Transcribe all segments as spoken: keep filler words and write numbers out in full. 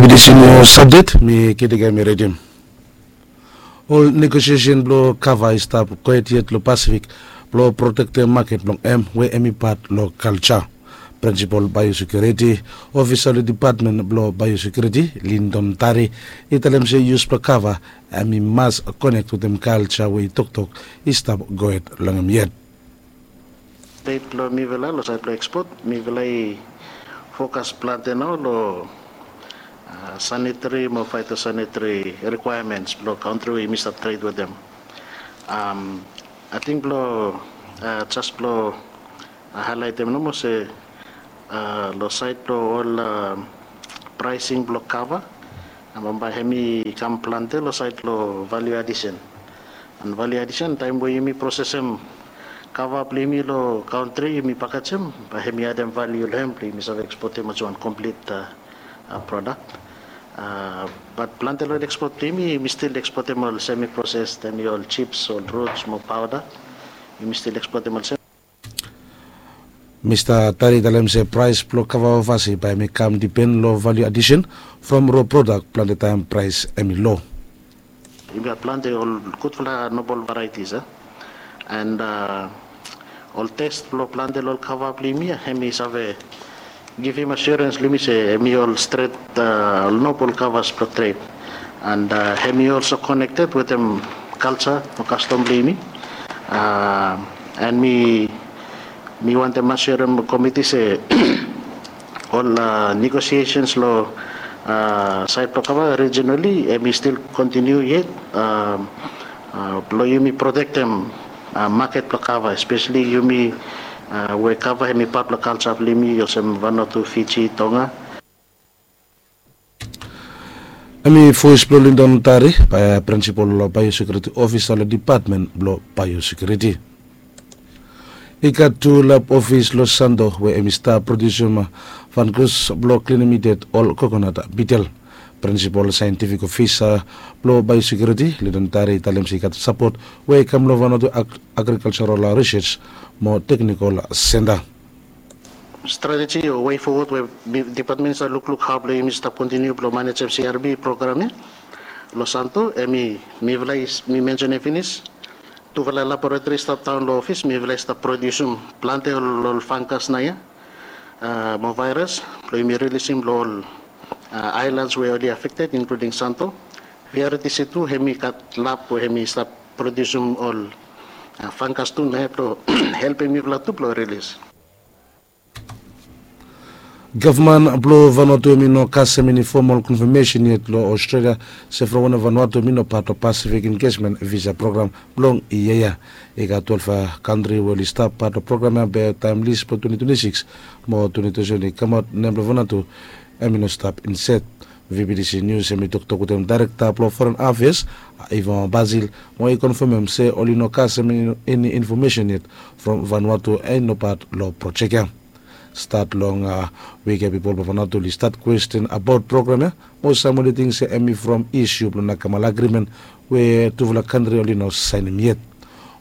Disin nius apdet mi kidiga mi redim. Ol negosiesen blong kava i stap kwet yet long Pasifik blong protektem maket blong em we em i pat long kalja. Prinsipol baiosekiuriti ofisa long dipatmen blong baiosekiuriti, Lindon Tari, i talem se yus blong kava em i mas konek wetem kalja we i toktok i stap gohed long em yet. Stet blong mifala long saed blong ekspot, mifala i fokas plante nao long sanitari mo faitosanitari rikwaemens blong kantri we yumi stap tret wetem. Ating blong jes blong haelaetem nomo se long saed blong ol praesing blong kava, bambae hem i kam plante long saed blong valiu adisen. An valiu adisen taem we yumi prosesem kava blong yumi long kantri, yumi pakajem, bae hem i adem valiu long hem blong yumi save ekspotem olsem wan komplit prodak. Bat plante long ekspot blong yumi, yumi stil ekspotem ol semi proses, hem i ol jips, ol ruts mo paoda. Yumi stil ekspotem olsem. Mista Tari i talem se praes blong kava ovasi bae hem i kam dipen long valiu adisen from ro prodak, plante taem praes hem i lo. Yumi gat plante ol gudfala nobol varaitis a, an ol tes blong plante long ol kava blong yumi ya, hem i save givim asiorens long yumi se hem i ol stret, ol nobol kavas blong tret. An hem i olso konekted wetem kalja o kastom blong yumi. An mi mi wantem asure komiti se ol negosiesens long saed blong kava rijinali hem i stil kontiniu yet blong yumi protektem maket blong kava, espeseli yumi we kava hem i pat blong kalja blong yumi olsem Vanuatu, Fiji, Tonga. Hem i voes blong Lindon Tari, prinsipol baiosekiuriti ofisa long dipatmen blong baiosekiuriti. I gat tu lab ofis long Santo we hem i stap prodiusim fangas blong klinim i ded ol kokonat bitel. Prinsipol saentifik ofisa blong baiosekiuriti, Lindon Tari, i talem se i gat sapot we i kam long Vanuatu Agrikaljaral Risej mo Teknikol Senta. Strateji o wei fowod we dipatmen i save lukluk hao blong yumi stap kontiniu blong manejem C R B program ya long Santo, hem i mifala i, mi mensenem finis, tufala laboratori i stap daon long ofis, mifala i stap prodiusim plante ol fangas naoia mo vaeras blong yumi rilisim long ol aelans we oli afekted, inkluding Santo. V R T C tu hem i gat lab we hem i stap prodiusim ol fangas tu naoia blong helpem mifala tu blong rilis. Gavman blong Vanuatu hem i no kasem eni fomol konfamesen yet long Australia se from wanem Vanuatu hem i no pat long Pacific Engagement Visa Program blong yia ya. I gat twelve kantri we oli stap pat long program ya be taem lis blong twenty twenty-six mo twenty twenty-seven i kamaot, nem blong Vanuatu hem i no stap inset. V B T C Nius hem i toktok wetem daerekta blong Foren Afeas, Ivan Basil, mo i konfamem se oli no kasem eni infomesen yet from Vanuatu i no pat long projek ya. Stat long wik ya pipol blong Vanuatu oli stat kwesten abaot program ya, mo sam oli ting se hem i from isiu blong Nakamal Agrimen we tufala kantri oli no saenem yet.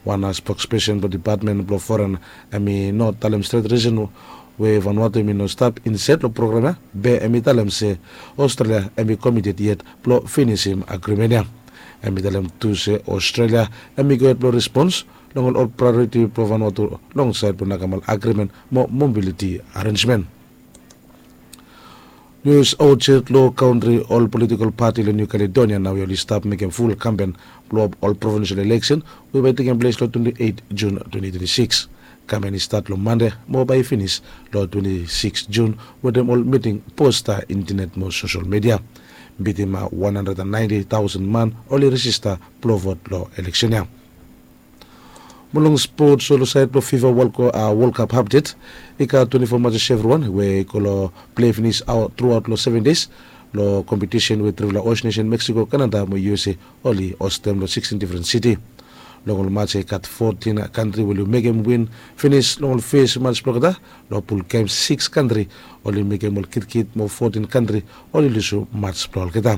Wan spokspesen blong dipatmen blong foren hem i no talem stret risen we Vanuatu hem i no stap inset long program ya, be hem i talem se Australia hem i komited yet blong finisim agrimen ya. Hem i talem tu se Australia hem i gohed blong respons long ol praeoriti blong Vanuatu long saed blong Nakamal Agrimen mo mobiliti arensmen. Nius aot yet long kantri, ol politikol pati long Niu Kaledonia naoia oli stap mekem ful kampen blong ol provinsel eleksen we bae tekem ples long twenty eight Jun twenty twenty six. Kampen i stat long Mande mo bae i finis long twenty six Jun wetem ol miting, posta, intenet mo sosel midia. Bitim wan handred and naenti taosen man oli rejista blong vot long eleksen ya. Mo long spots, long saed blong fifa Wol Kap apdet, i gat twenti fo matses evriwan we i go long plei finis truaot long seven des. Long kompetisen we trifala os nesen Meksiko, Kanada mo U S A oli ostem long sixteen difren siti. Long ol mats ya i gat fotin kantri we oli mekem win finis long ol fes mats blong olgeta. Long pul gems, sikis kantri oli mekem ol kitkit mo fotin kantri oli lusum mats blong olgeta.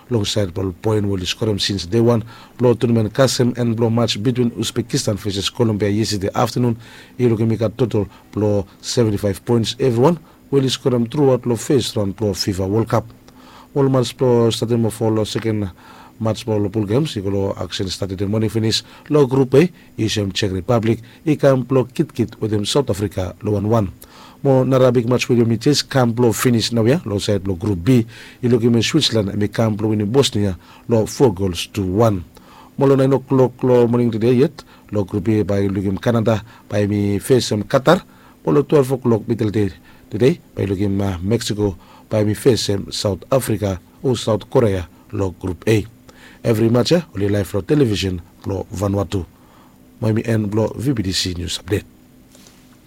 Long saed blong ol poen we oli skorem sins dei wan blong tunamen, kasem en blong mats bitwin Uzbekistan veses Kolombia yestade aftanun, i lukim i gat totol blong seventi faef poens evriwan we oli skorem truaot long fes raon blong fifa Wol Kap. Ol mats blong statem of ol seken mats blong ol pul gems i go long aksen stat eden moning finis long grup e. I sem Czech Republic i kam blong kitkit wetem Saut Afrika long wan wan. Mo nara bik mats we yumi jes kam blong finis naoia long saed blong grup B, i lukim we Switzerland em i kam blong winim Bosnia long fo gols tu wan. Mo long naen o'klok long moning tede yet long grup A bae i lukim Kanada bae em i fesem Katar. Mo long twelef o'klok midel dei tede bae i lukim Meksiko bae em i fesem Saut Afrika o Saut Korea long grup A. Evri mats ya oli laef long televisen blong Vanuatu. Mo em i en blong VBTC nius apdet.